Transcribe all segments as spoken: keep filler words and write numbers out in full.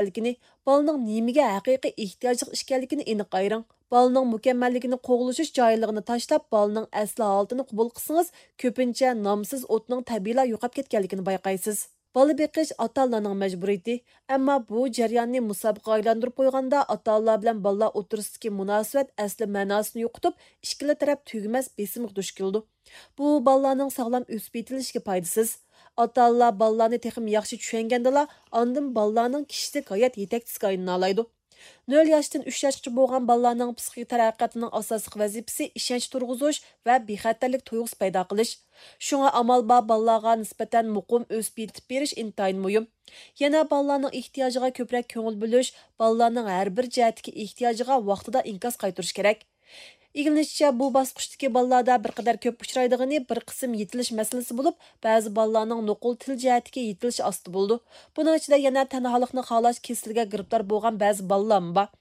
ئىكەنلىكىنى، بالىنىڭ نېمىگە ھەقىقىي ئېھتىياجلىق ئىكەنلىكىنى ئېنىق ئايرىڭ. بالىنىڭ مۇكەممەللىكىنى قوغلىشىش جاھىللىقىنى تاشلاپ، بالىنىڭ ئەسلى ھالىتىنى قوبۇل قىلسىڭىز، كۆپىنچە نامسىز ئوتنىڭ تەبىئىيلا يوقاپ كەتكەنلىكىنى بايقايسىز. بالا بېقىش ئاتا-ئانىلارنىڭ مەجبۇرىيىتى، ئەمما بۇ جەرياننى مۇسابىقىگە ئايلاندۇرۇپ قويغاندا، ئاتا-ئانىلار بىلەن بالىلار ئوتتۇرىسىدىكى مۇناسىۋەت ئەسلى مەناسىنى يوقىتىپ، ئىككىلا تەرەپ تۈگىمەس بېسىمغا دۇچ كېلىدۇ. بۇ بالىلارنىڭ ساغلام ئۆسۈپ يېتىلىشىگە پايدىسىز. ئاتا-ئانىلار بالىلارنى تېخىمۇ ياخشى چۈشەنگەندىلا، ئاندىن بالىلارنىڭ كىشىلىك ھايات يېتەكچىسىگە ئايلىنالايدۇ. نۆل ياشتىن ئۈچ ياشقىچە بولغان بالىلارنىڭ پسىخىك تەرەققىياتىنىڭ ئاساسلىق ۋەزىپىسى ئىشەنچ تۇرغۇزۇش ۋە بىخەتەرلىك تۇيغۇسى پەيدا قىلىش. شۇڭا ئامال بار بالىلارغا نىسبەتەن مۇقىم ئۆسۈپ يېتىپ بېرىش ئىنتايىن مۇھىم. يەنە بالىلارنىڭ ئېھتىياجىغا كۆپرەك كۆڭۈل بۆلۈش، بالىلارنىڭ ھەر بىر جەھەتتىكى ئېھتىياجىغا ۋاقتىدا ئىنكاس قايتۇرۇش كېرەك. ئىگىلىنىشىچە، بۇ باسقۇچتىكى بالىلاردا بىر قەدەر كۆپ ئۇچرايدىغىنى بىر قىسىم يېتىلىش مەسىلىسى بولۇپ، بەزى بالىلارنىڭ نوقۇل تىل جەھەتتىكى يېتىلىشى ئاستا بولىدۇ. بۇنىڭ ئىچىدە يەنە تەنھالىقنى خالاش كېسىلىگە گىرىپتار بولغان بەزى بالىلارمۇ بار.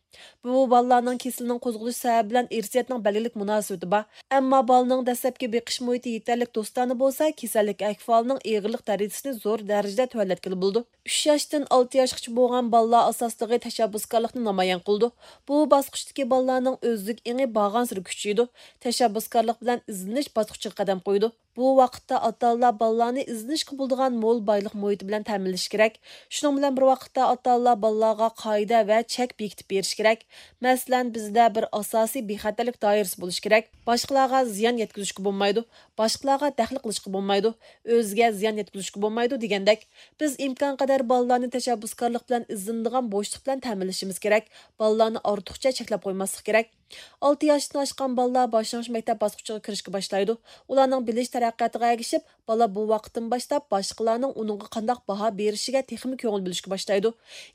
بۇ بالىلارنىڭ كېسىلىنىڭ قوزغىلىش سەۋەبى بىلەن ئىرسىيەتنىڭ بەلگىلىك مۇناسىۋىتى بار. ئەمما بالىنىڭ دەسلەپكى بېقىش مۇھىتى يېتەرلىك دوستانە بولسا، كېسەللىك ئەھۋالىنىڭ ئېغىرلىق دەرىجىسىنى زور دەرىجىدە تۆۋەنلەتكىلى بولىدۇ. ئۈچ ياشتىن ئالتە ياشقىچە بولغان بالىلار ئاساسلىقى تەشەببۇسكارلىقنى نامايان قىلىدۇ. بۇ باسقۇچتىكى بالىلارنىڭ ئۆزلۈك ئېڭى بارغانسېرى كۈچىيىدۇ. تەشەببۇسكارلىق بىلەن ئىزدىنىش باسقۇچىغا قەدەم قويىدۇ. بۇ ۋاقىتتا ئاتا-ئانىلار بالىلارنى ئىزدىنىشكە بولىدىغان مول بايلىق مۇھىتى بىلەن تەمىنلىشى كېرەك. شۇنىڭ بىلەن بىر ۋاقىتتا، ئاتا-ئانىلار بالىلارغا قائىدە ۋە چەك بېكىتىپ بېرىشى كېرەك. مەسىلەن، بىزدە بىر ئاساسىي بىخەتەرلىك دائىرىسى بولۇشى كېرەك. باشقىلارغا زىيان يەتكۈزۈشكە بولمايدۇ. باشقىلارغا دەخلى قىلىشقا بولمايدۇ. ئۆزىگە زىيان يەتكۈزۈشكە بولمايدۇ دېگەندەك. بىز ئىمكانقەدەر بالىلارنى تەشەببۇسكارلىق بىلەن ئىزدىنىدىغان بوشلۇق بىلەن تەمىنلىشىمىز كېرەك. بالىلارنى ئارتۇقچە چەكلەپ قويماسلىق كېرەك. ئالتە ياشتىن ئاشقان بالىلار باشلانغۇچ مەكتەپ باسقۇچىغا كىرىشكە باشلايدۇ. ئۇلارنىڭ بىلىش تەرەققىياتىغا ئەگىشىپ، بالا بۇ ۋاقىتتىن باشلاپ باشقىلارنىڭ ئۇنىڭغا قانداق باھا بېرىشىگە تېخىمۇ كۆڭۈل بۆلۈشكە باشلايدۇ.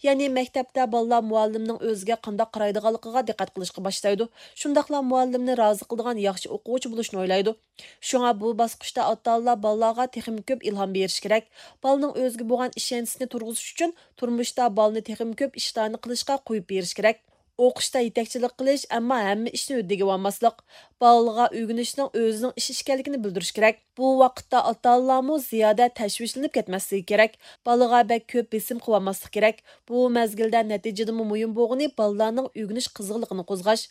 يەنى مەكتەپتە بالىلار مۇئەللىمنىڭ ئۆزىگە قانداق قارايدىغانلىقىغا دىققەت قىلىشقا باشلايدۇ. شۇنداقلا مۇئەللىمنى رازى قىلىدىغان ياخشى ئوقۇغۇچى بولۇشنى ئويلايدۇ. شۇڭا بۇ باسقۇچتا ئاتا-ئانىلار بالىلارغا تېخىمۇ كۆپ ئىلھام بېرىشى كېرەك. بالىنىڭ ئۆزىگە بولغان ئىشەنچىسىنى تۇرغۇزۇش ئۈچۈن تۇرمۇشتا بالىنى تېخىمۇ كۆپ ئىشلارنى قىلىشقا قويۇپ بېرىش كېرەك. ئوقۇشتا يېتەكچىلىك قىلىش، ئەمما ھەممە ئىشنى ھۆددىگە ئالماسلىق. بالىغا ئۆگىنىشنىڭ ئۆزىنىڭ ئىش ئىكەنلىكىنى بىلدۈرۈش كېرەك. بۇ ۋاقىتتا ئاتا-ئانىلارمۇ زىيادە تەشۋىشلىنىپ كەتمەسلىكى كېرەك. بالىغا بەك كۆپ بېسىم قىلىۋالماسلىق كېرەك. بۇ مەزگىلدە نەتىجىدىنمۇ مۇھىم بولغىنى بالىلارنىڭ ئۆگىنىش قىزغىنلىقىنى قوزغاش.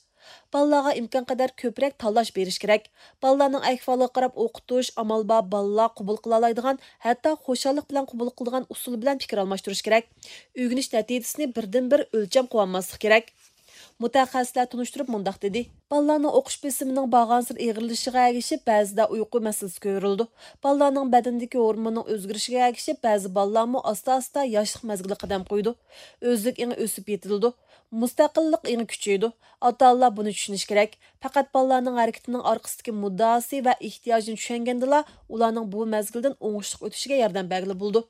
بالىلارغا ئىمكانقەدەر كۆپرەك تاللاش بېرىش كېرەك. بالىلارنىڭ ئەھۋالىغا قاراپ ئوقۇتۇش، ئامال بار بالىلار قوبۇل قىلالايدىغان، ھەتتا خۇشاللىق بىلەن قوبۇل قىلىدىغان ئۇسۇل بىلەن پىكىر ئالماشتۇرۇش كېرەك. ئۆگىنىش نەتىجىسىنى بىردىنبىر ئۆلچەم قىلىۋالماسلىق كېرەك. مۇتەخەسسىسلەر تونۇشتۇرۇپ مۇنداق دېدى: بالىلارنىڭ ئوقۇش بېسىمىنىڭ بارغانسېرى ئېغىرلىشىشىغا ئەگىشىپ بەزىدە ئۇيقۇ مەسىلىسى كۆرۈلىدۇ. بالىلارنىڭ بەدىنىدىكى ھورموننىڭ ئۆزگىرىشىگە ئەگىشىپ بەزى بالىلارمۇ ئاستا-ئاستا ياشلىق مەزگىلىگە قەدەم قويىدۇ. ئۆزلۈك ئېڭى ئۆسۈپ يېتىلىدۇ. مۇستەقىللىق ئېڭى كۈچىيىدۇ. ئاتا-ئانىلار بۇنى چۈشىنىشى كېرەك. پەقەت بالىلارنىڭ ھەرىكىتىنىڭ ئارقىسىدىكى مۇددىئاسى ۋە ئېھتىياجىنى چۈشەنگەندىلا، ئۇلارنىڭ بۇ مەزگىلدىن ئوڭۇشلۇق ئۆتۈشىگە ياردەم بەرگىلى بولىدۇ.